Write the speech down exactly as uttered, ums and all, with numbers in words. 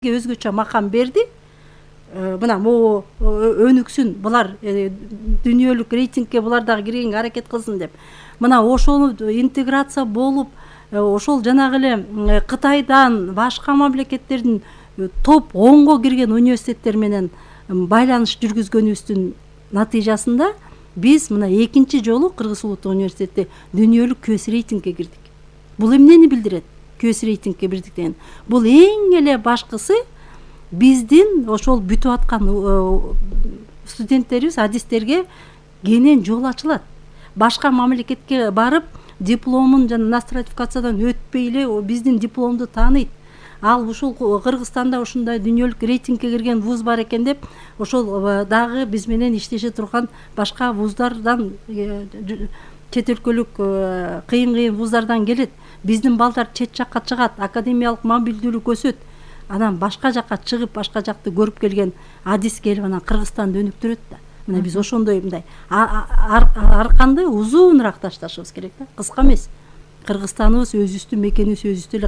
өзгөчө макам берди. Мына могу өнүксүн, булар дүйнөлүк рейтингке булар дагы киргенге аракет кылсын деп. Мына ошол интеграция болуп, ошол жанагы эле Кытайдан башка мамлекеттердин топ онго кирген университеттер менен байланыш жүргүзгөнүбүздүн натыйжасында биз мына экинчи жолу Кыргыз Улуттук университети дүйнөлүк көз рейтингге кирдик. Бул эмнени билдирет? Көз рейтингге кирдик деген. Бул эң эле башкысы биздин ошол бүтүп аткан студенттерибиз, адистерге кенен жол ачылат. Башка мамлекетке барып, дипломун жана нострификациядан өтпөй эле биздин дипломду тааныйт. Ал ушул Кыргызстанда ушундай дүйнөлүк рейтингге кирген вуз бар экен деп, ошол дагы биз менен иштеше турган башка вуздардан, чет өлкөлүк кыйын-кыйын вуздардан келет. Биздин балдар чет жакка чыгат, академиялык мобилдүүлүк өсөт. Анан башка жакка чыгып, башка жакты көрүп келген адис келип анан Кыргызстанды өнүктүрөт да. Мына биз ошондой мындай арканды узунураак ташташыбыз керек да, кыска эмес. Кыргызстаныбыз өзүбүздүн мекенибиз өзүбүздө эле